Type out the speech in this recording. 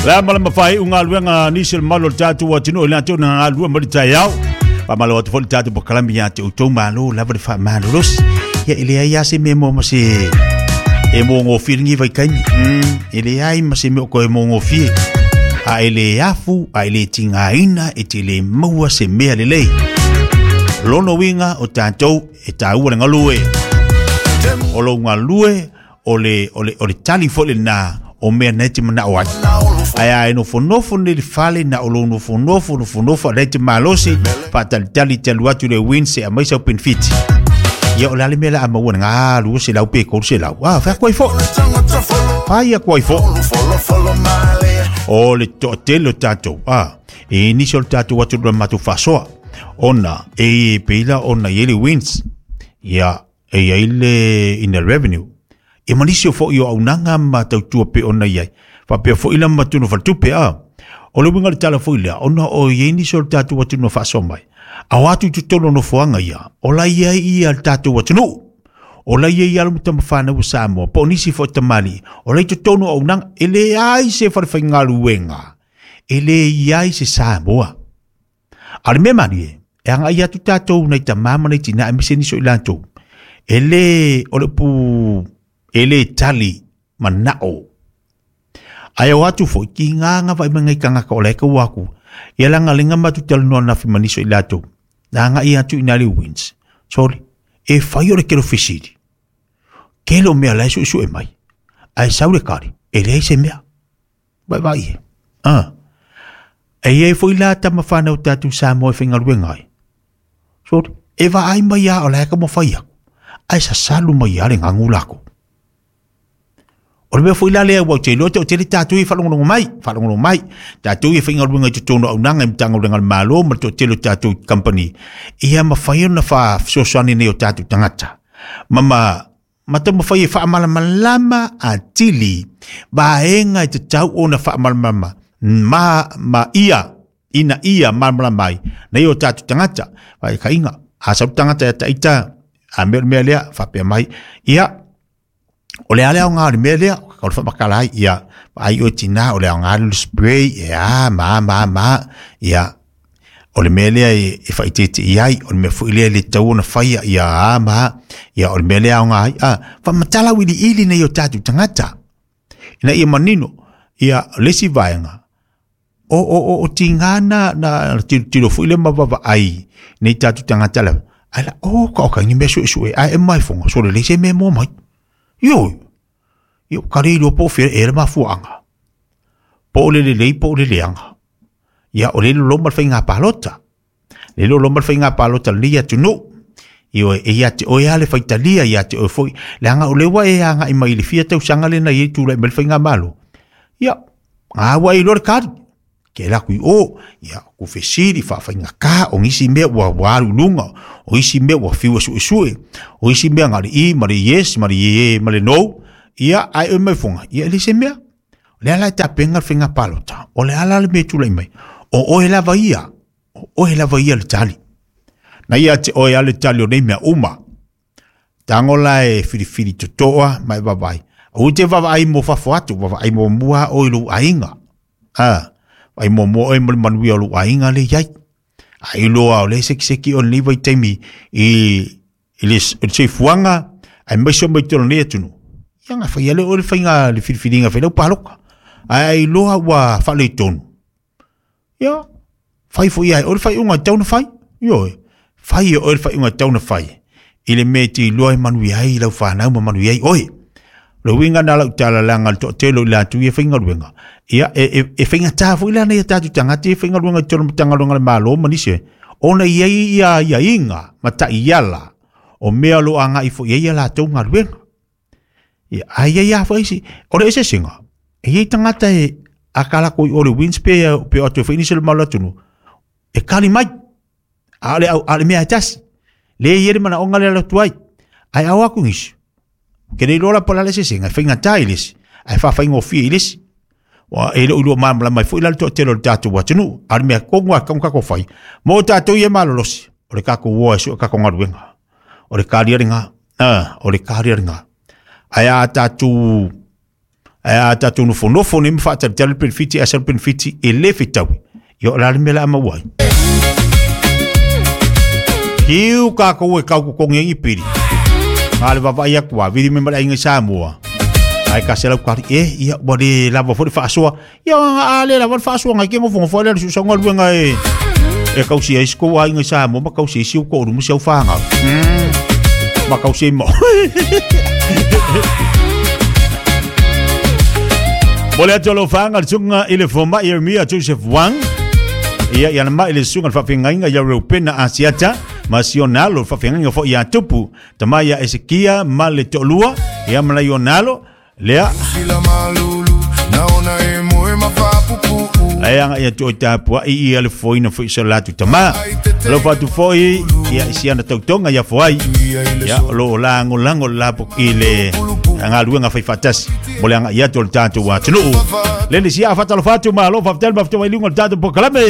Le a ma le mafai galuega a nisi o le mamalu o le tatou atunuu i latou na galulue mai le taeao. Faamalo atu foi le tatou polokalame ia te outou malo lava le faamalolosi. Ia e leai lava se mea mo ma se e mogofie lenei vaitaimi. E leai ma se mea o toe mogofie. A e le afu, a e le tigaina, e te le maua se mea lelei. Lona uiga o tatou e taua le galue. O lou galue, o le, o le, o le tali foi lena o mea nei te manao ai. Ae a e nofonofo nei le fale na o lou nofonofo, nofonofo a lea te malosi, faatalitali te alu atu le win se aumai sau penefiti. Ia o le a le mea la a maua le galu 200 pe 300. Ah, fai atu ai foi. Fai atu ai foi. O le toatele o tatou. Ah, e nisi o le tatou atu le matou faasoa. Ona, e peila ona i ai le wins. Ia, e i ai le Inland Revenue. Ia ma nisi o foi o auaunaga ma tautua pei ona i ai. Faapea foi la ma tunu faletupe a. O le uiga o le tala foi lea, ona o i ai nisi o le tatou atunuu na faasoa mai, a o atu i totonu o nofoaga ia, o la i ai ia le tatou atunuu. O la i ai alo ma tamafanau a Samoa, po o nisi foi tamalii, o la i totonu o auaunaga, e leai se falefaigaluega, e le i ai se Samoa. A o le mea malie, e agai atu tatou nai tama ma nai tina aemaise nisi o i latou, e le, o le upu, e le tali manao. Ae o atu foi, ki ngā ngā vai mai ngai tangata o lae kau aku, ia langa lenga matu talanoa nafi ma nisi o i latou, na agai atu i nā le wins. Sorry, e fai o le kelo fesili. Kelo mea lae suesue mai. Ae sau le kari, e leai se mea. Vaivai e. Ah. E i ai foi la tama whanau tātou Samoa e whaingaluenga ai. Sorry, e vaai mai a o la e ka mawhai aku. Ai sasalu mai a le ngangu lako. O le mea foi la lea ua te iloa te o tele tātou i whalongolongo mai, whalongolongo mai. Tātou i whaingaluenga i totonu auaunaga i Matagaluega a le Malo ma le toatele o tātou company. Ia mawhai ona wha fesoasoani nei o tātou tangata. Ma Ma taumafai e faamalamalama atili vaega e tatau ona faamalamalama ma, ma ia, ina ia malamalama ai, nei o tātou tagata, whaikaiga, a sau tagata ia taita, a mea o le mea lea, faapea mai, ia, o le a le aoga o le mea lea, o le whamakala ai, ia, ai oe tina, o le aoga le spray, e a, ma, ma, ma, ia, O le mea lea e faaeteete i ai, o le mea foi lea e le tatau ona faia, ia a ma a, ia o le mea lea e aoga ai, a, faamatala auiliili nei o tatou tagata, ina ia manino, ia o le isi vaega, o, o, o, o tiga na, na tilotilo foi lea ma vaavaai nei tatou tagata lava, ae la, o, ka o ka ni mea suesue, ae e mai fonga, sole leai se mea e mua mai. Ioe, ia ka le iloa po o fea ea le mafuaaga, po o le lelei po o le leaga. Ia, o le loloma le faiga palota. Le loloma le faiga palota lenei atunuu. Ioe, e ia te oe lava le faitalia, ia te oe foi. Leaga o lea ua e agai mai i le fia tausaga lea na i ai tulai mai le faigamalo. Ia, a ua e iloa le kali. Ke ala atu i o, ia, ku fesili, faafaigata, o nisi mea ua, ua alu i luga, o isi mea ua fiu e suesue, o isi mea na o le i ma le yes ma le ie ma le no, ia, ae oe mai foga, ia e leai se mea. O le a la e tapena le faiga palota, o le a la le mea e tulai mai, o oe lava ia, o oe lava ia le tali. Na ia te oe a le tali o nei mea uma. Tago la e filifili totoa ma e vaavaai. Aua e te vaavaai mo fafo atu, vaavaai muamua oe i lou aiga. A, vaai muamua oe mo le manuia o lou aiga lea e i ai. A iloa o lea e sekiseki oe i lenei vaitaimi i i le soifuaga aemaise o mai totonu o lenei atunuu, ia na fai lea oe le faiga le filifiliga e fai lau palota. Ae a iloa ua faaletonu, ia, fai foi ia e oe le faaiuga e tatau ona fai. Ioe, fai e oe le faaiuga e tatau ona fai i le mea e te iloa e manuia ai lau fanau ma manuia ai oe. O le uiga lena o lau tala leaga le toatele o i latou ia e faigaluega, ia e faigata foi la nai a tatou tagata ia e faigaluega i totonu o Matagaluega a le Malo ma nisi, ona e i ai ia aiaiga ma taiala o mea o lo o agai foi i ai a latou galuega. Ia, ae i ai lava foi isi, o le eseesega, e i ai tagata e a kalako i o le wins pe o atu ai foi nisi o le mamalu o le atunuu, e kali mai. A o le, a o le mea e tasi. Le i ai le manaoga lea alu atu ai. Ae ao atu nisi. Ke le iloa la po o le a le eseesega, e faigata i le isi, ae faafaigofie i le isi. Ua e le o iloa malamalama ai foi la le toatele o le tatou atunuu. A o le mea tonu lava e tatau ona tatou fai, mo tatou ia e malolosi, o le tatou o e sue tatou galuega. O le kaliariga, o le kaliariga. Ae a tatou. Ae a tatou nofonofo nei ma faatalitali le penefiti ae sau le penefiti e le fetaui, ia o le a le mea o le a maua ai? Hiu kākou e kau totogi ai ni pili. A le vaavaai atu a vili mai ma le aiga i Samoa. Ae ka se lau kari e ia ua le lava foi le faasoa. Ia a le lava le faasoa ngai ke nofonofo ai le susa galuega e e kausi ai si kou aiga i Samoa ma kausi ai si ou toalua ma si au fanau. Ma kausi ai ma Mo le atu alofaga le susuga i le fomai Eremia Joseph Wang. Ia ia na mai le susuga le faafeagaiga ia Reupena Asiata ma si ona alo le faafeagaiga foi ia Tupu tama ia Esekia ma le toalua ia ma nai ona alo lea Sila malulu naona e moe mafapupuu Lai aga ia tuo tapuai ia le foina foi so latu tama. Lo fatu foi ia isi ana tautoga ia foai. Ia lo lango lango la po i le galuega fai faatasi mo le agai atu o le tatou atunuu. Le le sia fatalofa atu malo faafetai le mafutaga i luga o le tatou polokalame.